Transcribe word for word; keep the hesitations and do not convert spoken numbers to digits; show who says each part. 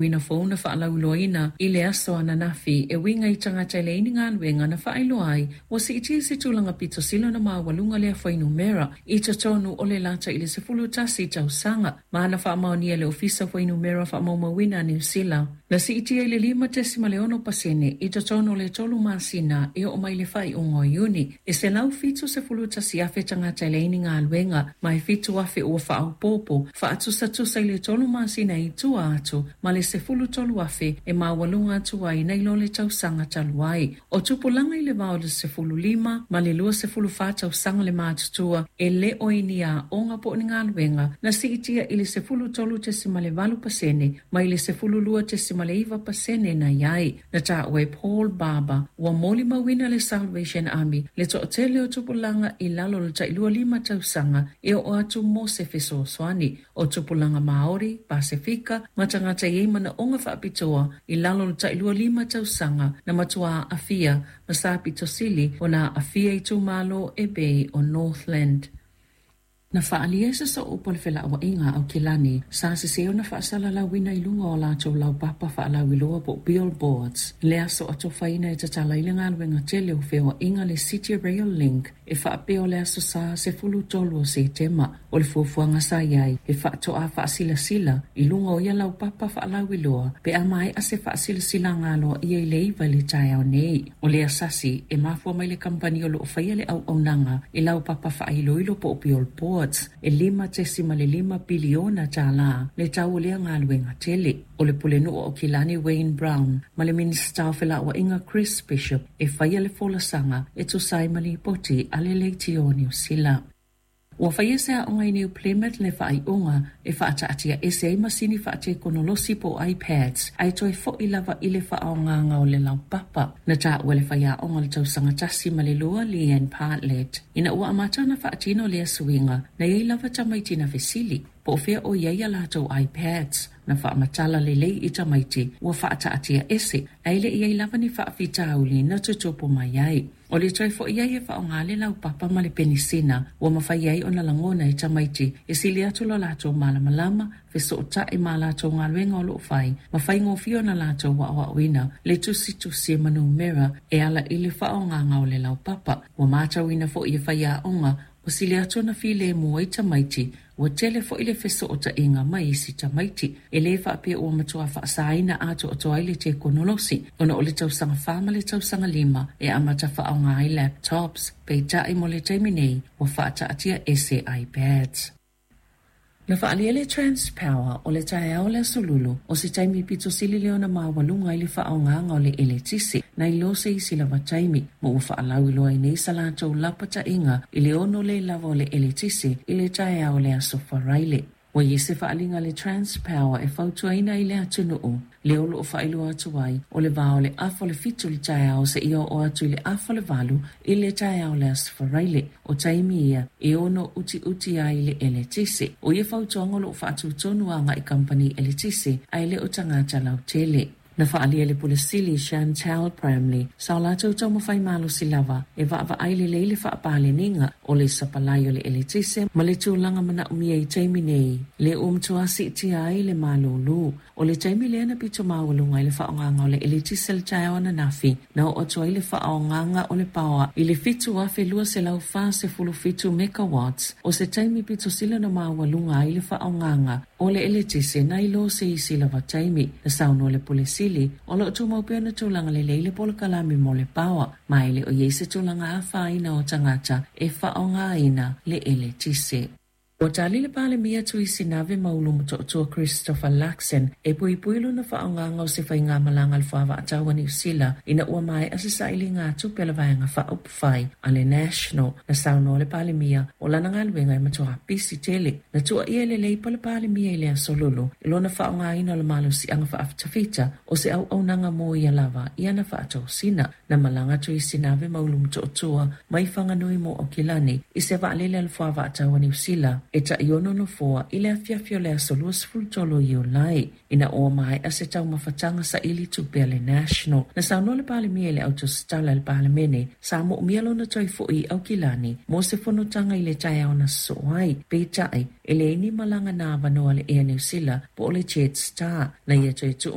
Speaker 1: Uiga fou na faalauiloaina i le aso ananafi e uiga i tagata e leai ni galuega na faailoa ai ua siitia se tulaga pito sili ona maualuga lea fuainumera i totonu o le lata i le sefulu tasi tausaga ma na faamaonia e le Ofisa o Fuainumera Faamaumauina a Niu Sila. Na siitia i le lima tesima le ono pasene i totonu o le tolu masina e oo mai i le faaiuga o Iuni. E selau fitu sefulu tasi afe tagata e leai ni galuega ma e fitu afe ua faaopoopo faatusatusa i le tolu masina i tua atu ma le sefulu tolu afe e maualuga atu ai nai lo le tausaga talu ai. O tupulaga i le va o le sefulu lima ma le lua sefulu fa tausaga le matutua e le o i ni aoga po o ni galuega na siitia i le sefulu tolu tesima le valu pasene mai le sefulu lua tesima le iva pasene na i ai. Na taua e Paul Barber ua molimauina le Salvation Army le toatele o tupulaga i lalo o le tailua lima tausaga e oo atu mo se fesoasoani. O tupulaga Maori, Pasefika ma tagata e i ai manaoga faapitoa i lalo o le tailua lima tausaga na matua aafia ma sa pito sili ona aafia i itumalo e pei o Northland. Na faaalia e se sooupu o le felauaiga a Aukilani sa sesē ona faasalalauina i luga o latou laupapa faalauiloa po o billboards le aso atofaina e tatala ai le galuega tele o feoaiga le City Rail Link e faapea o le aso Sa sefulu tolu o Setema. O le fuafuaga sa i ai e faatoa faasilasila i luga o ia laupapa faalauiloa pe a maea se faasilasilaga aloaia i le iva i le taeao nei. O le sasi e mafua mai le kamupani o loo faia le auaunaga i laupapa faailoilo po o billboards e lima tesima le lima piliona tālā le tau o lea galuega tele. O le pulenuu o Aukilani Wayne Brown ma le Minisita o Felauaiga Chris Bishop e faia le folasaga e tusa ai ma lipoti a le Leitio o Niu Sila. Ua faia se aoga i New Plymouth le faaiuga e faataatiaese ai masini faatekonolosi po o iPads ae toe fo'i lava i le faaaogaga o le laupapa. Na taua e le faiaoga o le tausaga tasi ma le lua Leanne Partlet ina ua amata ona faatino lea suiga na iai lava tamaiti na fesili po o fea o i ai a latou iPads. Na faamatala lelei i tamaiti ua faataatiaese ae le i ai lava ni faafitauli na tutupu mai ai. O le toe fo'i ai e faaaoga le laupapa ma le penisina ua mafai ai ona lagona e tamaiti e sili atu lo latou malamalama fesoota'i ma latou galuega o loo fai ma faigofie ona latou aoaoina le tusitusi ma numera e ala i le faaaogaga o le laupapa. Ua matauina fo'i e faiaoga ua sili atu ona filemu ai tamaiti ua tele fo'i le fesoota'iga mai isi tamaiti. E lē faapea ua matuā faasaina atoatoa ai le tekonolosi ona o le tausaga fa ma le tausaga lima e amata faaaoga ai laptops peitai mo le taimi nei ua faataatiaese iPads. Na faaalia e le Transpower o le taeao o le aso Lulu o se taimi pito sili lea ona maualuga i le faaaogaga o le eletise nai lo se isi lava taimi ma ua faalauiloa ai nei sa latou lapataiga i le ono le lava o le eletise i le taeao o le aso Faraile. Ua i ai se faaaliga a le Transpower e fautuaina ai le atunuu lea o loo faailoa atu ai o le va o le afa o le fitu i le taeao seia oo atu i le afa o le valu i le taeao o le aso Faraile. O taimi ia e ono utiuti ai le eletise. O ia fautuaga o loo faatutonu agai kamupani eletise ae le o tagata lautele. Na faaalia e le Pule Sili Chantal Bramley sa o latou taumafai malosi lava e vaavaai lelei le faapaleniga o le sapalai o le eletise ma le tulaga manaomia i taimi nei lea ua matuā siitia ai le malūlū. O le taimi lea na pito maualuga ai le faaaogaga o le eletise i le taeao ananafi na oo atu ai le faaaogaga o le paoa i le fitu afe lua selau fa sefulu fitu megawatts o se taimi pito sili ona maualuga ai le faaaogaga o le eletise nai lo se isi lava taimi. Na saunoa le Pule Sili o loo tumau pea ona tulaga lelei le polokalame mo le paoa ma e le o i ai se tulaga afaina o tagata e faaaogaina le eletise. Ua tali le Palemia Tuisi Nave ma Ulu Motootua Christopher Luxon e puipui lona faaaogaga o se faigamalaga a le fuavaatau a Niu Sila ina ua maea se sailiga atupe a le vaega faaupufai a le National. Na saunoa le Palemia o lana galuega e matuā pisi tele. Na tuuaia e le Leipa le Palemia i le aso Lulu i lona faaaogaina o le malosiaga faafitafita o se auaunaga mo ia lava i ana faatosina. Na malaga Tuisi Nave ma Ulu Motootua mai Whanganui mo Aukilani i se vaalele a le fuavaatau a Niu Sila E taʻi ono nofoa i le afiafi o le aso luasefulu tolu o Iulai, ina ua maea se taumafataga saili tupe a le National. Na saunoa le Palemia i le autositala le Palemene, sa moomia lona toe fo'i i Aukilani mo se fonotaga i le taeao na sosoo ai. Peitai, e leai ni malaga na avanoa le Air New Zealand po o le Jetstar na ia toe tuu.